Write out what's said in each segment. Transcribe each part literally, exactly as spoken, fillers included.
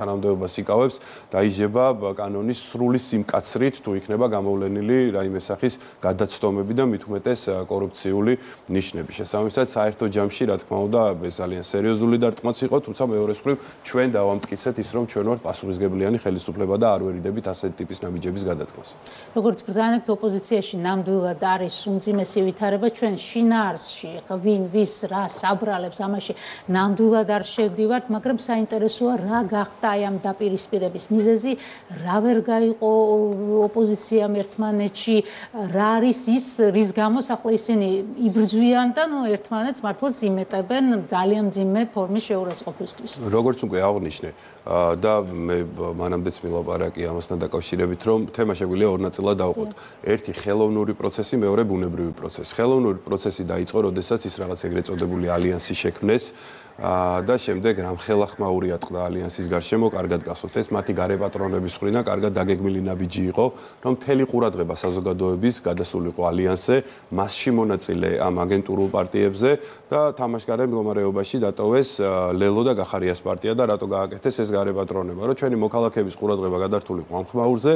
თანამდებობას იკავებს, დაიჯება კანონის სრული სიმკაცრით, თუ იქნება გამოვლენილი რაიმე სახის გადაცდომები და მით უმეტეს კორუფციული ნიშნები. შესაბამისად, საერთო ჯამში, რა თქმა უნდა, ეს ძალიან სერიოზული დარტყმაც იყო, თუმცა მეორე მხრივ ჩვენ დავამტკიცეთ ის, რომ ჩვენ ვართ პასუხისმგებლიანი ხელისუფლება და არ ვერიდებით ასეთი ტიპის ნაბიჯების გადადგმას. როგორც ბრძანებთ, ოპოზიციაში ნამდვილად არის უმძიმესი ვითარება, ჩვენ შინაარსში, ვინ ვის რა საბრალებს, ამაში ნამდვილად არ შევდივართ, მაგრამ საინტერესოა რა გახდა აი ამ დაპირისპირების მიზეზი, რა ვერ გაიყო ოპოზიციამ ერთმანეთში, რა არის ის, რის გამო ახლა ისინი იბრძვიან და ნუ ერთმანეთს მართლაც იმეტებენ ძალიან მძიმე ფორმის შეურაცხყოფისთვის. როგორც უკვე აღნიშნე და მე მანამდეც მილაპარაკე ამასთან დაკავშირებით, რომ თემა შეგვიძლია ორ ნაწილად დავყოთ. ერთი ხელოვნური პროცესი, მეორე ბუნებრივი პროცესი. ხელოვნური პროცესი დაიწყო, როდესაც ის რაღაც ეგრეთ წოდებული ალიანსი შექმნეს და შემდეგ რამხელახმაური ატყდა ალიანსის გარშემო, კარგად გასვოთ. ეს მათი გარეპატრონების მხრიდან კარგად დაგეგმილი ნაბიჯი იყო, რომ მთელი ყურადღება საზოგადოების გადასულიყო ალიანსზე, მასში მონაწილე ამ აგენტურულ პარტიებზე და თამაშგარე მდგომარეობაში დატოვეს ლელო და გახარიას პარტია და რატო გააკეთეს ეს გარეპატრონება, რომ ჩვენი მოქალაქეების ყურადღება გადართულიყო ამ ხმაურზე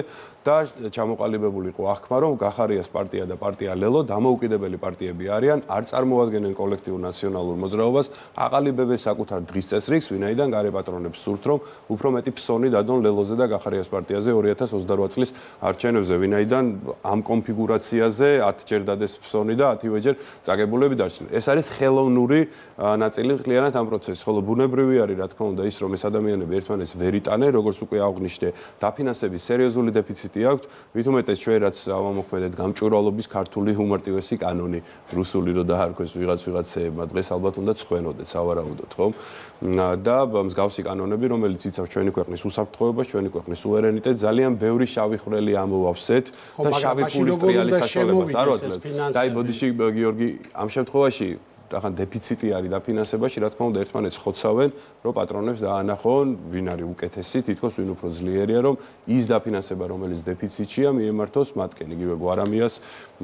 და ჩამოყალიბებულიყო აღქმა, რომ გახარიას პარტია და პარტია ლელო დამოუკიდებელი პარტიები არიან, არ წარმოადგენენ კოლექტიურ ნაციონალურ მოძრაობას, აყალიბებენ საკუთარ დღის წესრიგს, ვინაიდან გარეპატრონებს სურთ, რომ უფრო მეტი ფსონი დადონ ლელოზე და გახარიას პარტიაზე ორი ათას ოცდარვა წლის არჩევნებზე, ვინაიდან ამ კონფიგურაციაზე ათჯერ დადეს ფსონი და ათივეჯერ წაგებულები დარჩნენ. ეს არის ხელოვნური ნაწილი მთლიანად ამ პროცესის, ხოლო ბუნებრივი არის, რა თქმა უნდა, ის, რომ ეს ადამიანები ერთმანეთს ვერ იტანენ, როგორც უკვე აღვნიშნე, დაფინანსების სერიოზული დეფიციტი აქვთ, მით უმეტეს ჩვენ რაც ავამოქმედეთ გამჭვირვალობის ქართული უმარტივესი კანონი, რუსული რო დაარქვეს ვიღაც ვიღაცეებმა, დღეს ალბათ უნდა ცხვენოდეთ, სავარაუდოდ. და მსგავსი კანონები, რომელიც იცავს ჩვენი ქვეყნის უსაფრთხოებას, ჩვენი ქვეყნის სუვერენიტეტს, ძალიან ბევრი შავი ხვრელი ამოვავსეთ და შავი ფულის ტრიალის საშუალებას არ ვაძლევთ. დაი ბოდიში გიორგი, ამ შემთხვევაში ახან დეფიციტი არის დაფინანსებაში, რა თქმა უნდა, ერთმანეთს ხოცავენ, რომ პატრონებს დაანახონ, ვინ არის უკეთესი, თითქოს ვინ უფრო ძლიერია, რომ ის დაფინანსება, რომელიც დეფიციტია, მიემართოს მათკენ, იგივე გვარამიას,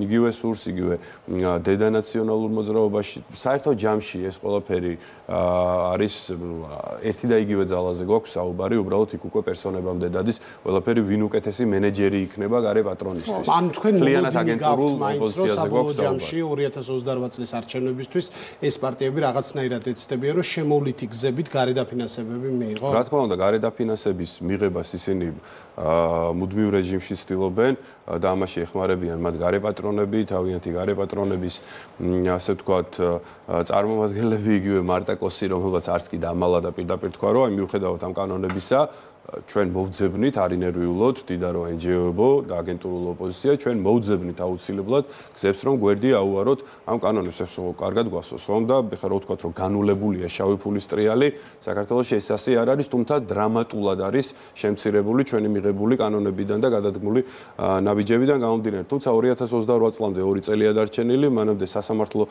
იგივე სურს, იგივე დედა ნაციონალურ მოძრაობაში. საერთო ჯამში ეს ყველაფერი არის ერთი და იგივე ძალაზე გვაქვს საუბარი, უბრალოდ იქ უკვე პერსონებამდე დადის, ყველაფერი ვინ უკეთესი მენეჯერი იქნება გარე პატრონისთვის. ან თქვენ მოლოდინი გაქვთ მაინც, რომ საბოლოო ჯამში ორი ათას ოცდარვა წლის არჩევნებისთვის ეს პარტიები რაღაცნაირად ეცდებიან, რომ შემოვლითი გზებით გარედაფინანსებები მიიღო. რა თქმა უნდა, გარედაფინანსების მიღებას ისინი მუდმივ რეჟიმში ცდილობენ და ამაში ეხმარებიან მათ გარეპატრონები, თავიანთი გარეპატრონების, ასე ვთქვათ, წარმომადგენლები, იგივე მარტა კოსი, რომელსაც არც კი დამალა და პირდაპირ თქვა, რომ მიუხედავად ამ კანონებისა, ჩვენ მოვძებნით არინერვიულოდ, დიდარო ენჯიოებო და აგენტურულ ოპოზიცია, ჩვენ მოვძებნით აუცილებლად გზებს, რომ გვერდი აუაროთ ამ კანონებს, ეს კარგად გვასწავს, ხომ და ხა რა ვთქვათ, რომ განულებულია შავი ფულის ტრიალი, საქართველოში ეს ასე არ არის, თუმცა დრამატულად არის შემცირებული ჩვენი მიღებული კანონებიდან და გადადგმული ნაბიჯებიდან გამომდინარე. თუმცა ორი ათას ოცდარვა წლამდე ორი წელია დარჩენილი, მანამდე სასამართლო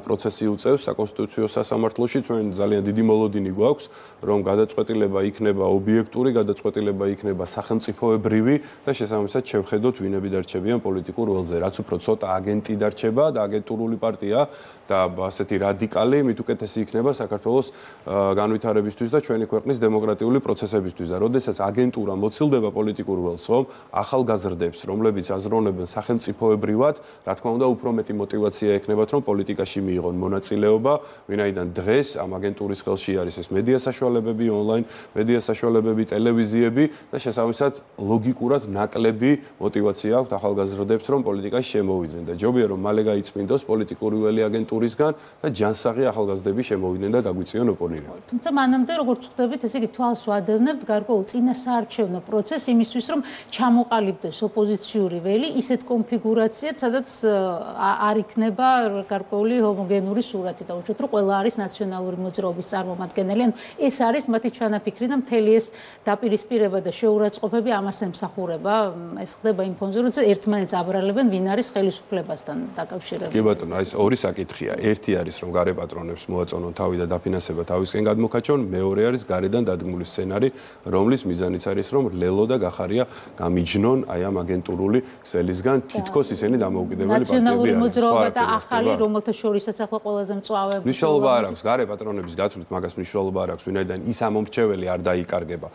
პროცესი უწევს საკონსტიტუციო სასამართლოში, ჩვენ ძალიან დიდი მოლოდინი გვაქვს, რომ გადაწყვეტილება იქნება ობიექტური, გადაწყვეტილება იქნება სახელმწიფოებრივი და შესაბამისად შევხედოთ ვინები დარჩებიან პოლიტიკურ ველზე. რაც უფრო ცოტა აგენტი დარჩება და აგენტურული პარტია და ასეთი რადიკალი, მით უკეთესი იქნება საქართველოს განვითარებისთვის და ჩვენი ქვეყნის დემოკრატიული პროცესებისთვის. და როდესაც აგენტურა მოცილდება პოლიტიკურ ველს, რომ ახალგაზრდებს, რომლებიც აზროვნებენ სახელმწიფოებრივად, რა თქმა უნდა, უფრო მეტი мотиваცია ექნებათ, რომ პოლიტიკაში მიიღონ მონაწილეობა, ვინაიდან დღეს ამ აგენტურის ხელში არის ეს მედია საშუალებები, ონლაინ მედია საშუალებები, ტელევიზიები და შესაბამისად ლოგიკურად ნაკლები мотиваცია აქვს ახალგაზრდებს, რომ პოლიტიკაში შემოვიდნენ და ჯობია რომ მალე გაიწმინდოს პოლიტიკური ველი აგენტურისგან და ჯანსაღი ახალგაზრდები შემოვიდნენ და გაგვიწიონ ოპონირება. თუმცა მანამდე როგორც ხვდებით, ესე იგი თვალს ვადევნებთ გარკვეულ წინასაარჩევნო პროცესს იმისთვის, რომ ჩამოყალიბდეს ოპოზიციური ველი ისეთ კონფიგურაციად, სადაც არ იქნება გარკვეული ჰომოგენური სურათი და უშუალოდ რომ ყველა არის ნაციონალური მოძრაობის წარმომადგენელი. ანუ ეს არის მათი ჩანაფიქრი და მთელი ეს დაპირისპირება და შეურაცხყოფები ამას ემსახურება. ეს ხდება იმ ფონზე, როცა ერთმანეთს აბრალებენ, ვინ არის ხელისუფლებასთან დაკავშირებული. კი ბატონო, აი ეს ორი საკითხია. ერთი არის რომ გარეპატრონებს მოაწონონ თავი და დაფინანსება თავისკენ გადმოქაჩონ, მეორე არის გარედან დადგმული სცენარი, რომლის მიზანიც არის რომ ლელო და გახარია გამიჯნონ აი ამ აგენტურული ქსელისგან, თითქოს ისინი დამოუკიდებელი პარტიები არიან. ნაციონალური მოძრაობა და ახალი, რომელთა შორისაც ახლა ყველაზე მწვავე მნიშვნელობა არ აქვს გარეპატრონების გაცვლით, მაგას მნიშვნელობა არ აქვს, ვინაიდან ის ამომრჩეველი არ დაიკარგება.